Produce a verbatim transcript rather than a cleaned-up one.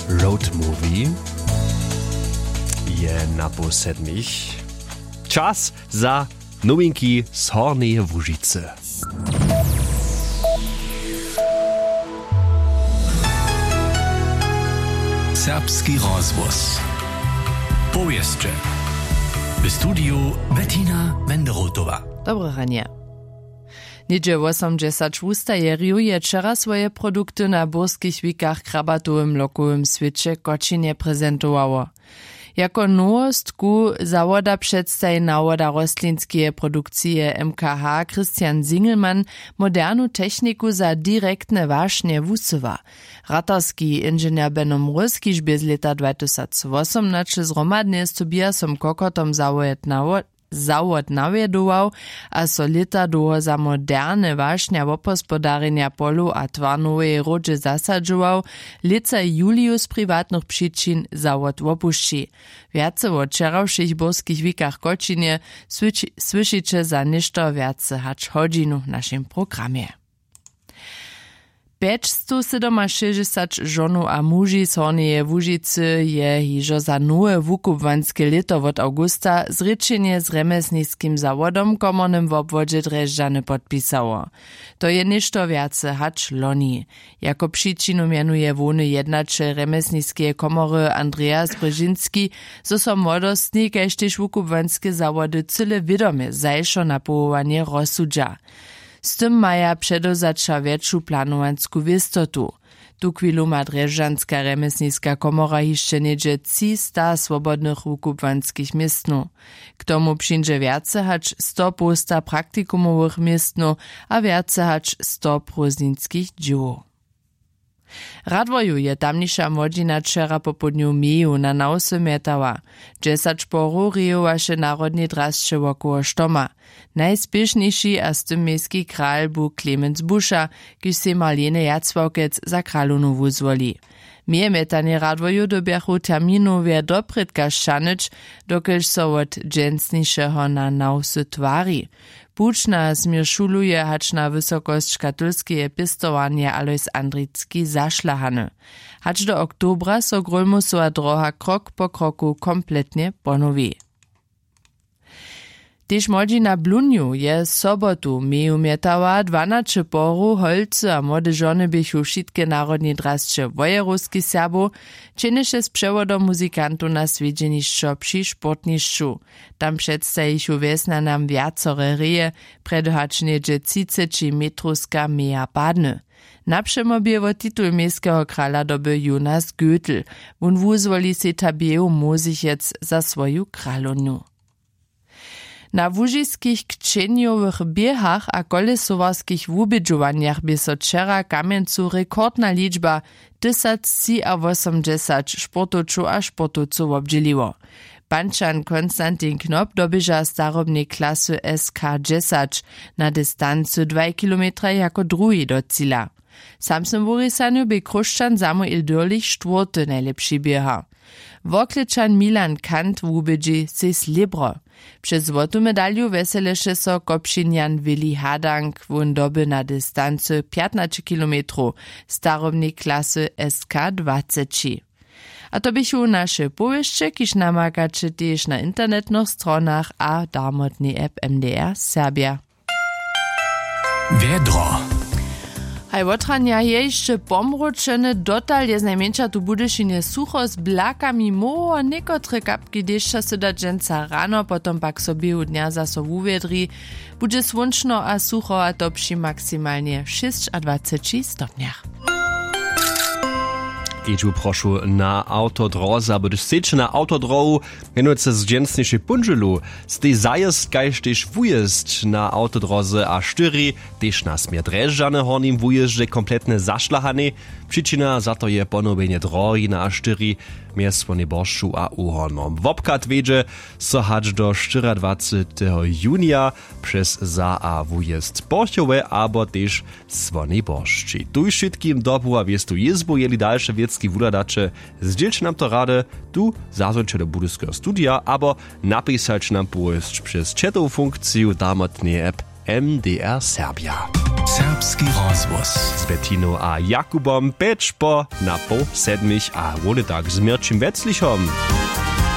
Road Movie je na poł sedmich. Čas za nowinki z Hornjeje Łužicy. Serbski rozhłos. Powěsće. W studiju Bettina Wenderotowa. Dobre ranje. Něhdźe wosomdźesać wustajerjow je wčera swoje produkty na burskich wikach w krabatowym lokowym swěće w Kočinje prezentowało. Jako nowostku zawoda předstaji nawoda rostlinskeje produkcije M K H Christian Singelmann modernu techniku za direktne wašnje wusyła. Ratarski inženjer Beno Mróz, kiž bě z lěta dwatysacwosomnaće zhromadnje z Tobiasom Kokotom zawoda nawo-, zawod nawjedował a so lěta dołho za moderne wašnja wobhospodarjenja polow a twarnoweje hródźe zasadźował, lětsa juliju z priwatnych přičin zawod wopušći. Wjace wo wčerawšich burskich wikach w Kočinje słyši-, słyšiće za něšto wjace hač hodźinu w našim programje. Pjećstowsydomašěsćdźesać žonow a muži z Hornjeje Łužicy je hižo za nowe wukubłanske lěto wot awgusta zrěčenje z rjemjesniskim zawodom w komornym wobwodźe Drježdźany podpisało. To je něšto wjace hač loni. Jako přičinu mjenuje hłowny jednaćel rjemjesniskeje komory Andreas Brzežinski, zo so młodostni kaž tež wukubłanske zawody cyle wědomje zašo na powołanje rozsudźa. Z tym maja předewzaća wjetšu planowansku wěstotu. Tuchwilu ma drježdźanska rjemjesniska komora hišće něhdźe třista swobodnych wukubłanskich městnow. K tomu přińdźe wjace hač sto połsta praktikumowych městnow a wjace hač sto prózdninskich dźěłow. W Radworju je tamniša młodźina wčera popołdnju meju na nawsy mjetała. Dźesać porow rejowaše w narodnej drasće wokoło štoma. Najspěšnjejši a z tym mejski kral bu Clemens Buša, kiž sej Marlene Jacławkec za kralownu wuzwoli. Mejemjetanje w Radworju dyrbjachu terminowje doprědka sćahnyć, dokelž so wot dźensnišeho na nawsy twari. Puć nas měr šuluje hač na wysokosć katolskeje pěstowarnje Alois Andricki zašlahany. Hač do oktobra so Grólmusowa dróha krok po kroku kompletnje ponowi. Tež młodźina Blunju je sobotu meju mjetała, dwanaće porow holcy a młode žony běchu wšitke w narodnej drasće wojerowskich Serbow, čehnješe z přewodom muzikantow na swjedźenišćo při sportnišću. Tam předstajichu wjesnjanam wjacore reje, prjedy hač něhdźe třiceći metrowska meja padny. Napřemo bě wot titul mejskeho krala dobył Jonas Götl. Wón wuzwoli sej Tabeju Mosichec za swoju kralownu. Na łužiskich kćenjowych běhach a kolesowarskich wubědźowanjach bě so wčera w Kamjencu rekordna ličba, tysactřiawosomdźesać sportowčow a sportowcow wobdźěliło. Pančan Konstantin Knop doběža w starobnej klasy S K dźesać na distancy dwaj kilometraj jako druhi do cila. W samsnym wurisanju bě Chróšćan Samuel Dürlich štwórty najlěpši běhar. Worklečan Milan Kant wubědźi sej slěbro. Přez złotu medalju wjeseleše so Kopšinjan Willi Hadank, wón doby na distancy pjatnaće kilometrow w starobnej klasy S K dwaceći. A to běchu naše powěsće, kiž namakaće tež na internetnych stronach a darmotnej app M D R Serbja. Wjedro. Haj, wotranja je hišće pomróčene, dotal je znajmjeńša tu w Budyšinje sucho z blakami móhło, někotre kapki dešća sy da dźensa rano, potom pak so w běhu dnja zaso wuwjedri. Budźe słónčno a sucho, a to při maksimalnje šěsćadwaceći stopnjach. Kedźbu prošu na awtodroze abo hdyž sejće na awtodrohu, mjenujcy z dźensnišej póndźelu, stej zajězd kaž tež wujězd na awtodroze A štyri, tež na směr Drježdźany w hornim wujězdźe kompletnje zašlahanej. Přičina za to je ponowjenje drohi na A štyri mjez Słonjej Boršću a Uhornom. Wobchad wjedźe so hač do štyriadwaceteho junija přez za a wujězd Porchowe abo tež Słonjej Boršći. Tuž wšitkim dobu a wěstu jězbu, jeli dalše wěcki wuhladaće, zdźělće nam to rady tu zazwončeho Budyskeho studija abo napisaće nam powěsć přez chatowu funkciju darmotneje app M D R Serbja. Serbski rozhłos z Betiną a Jakubom pjeć po na poł sedmich a wone tak z Měrćim Weclichom.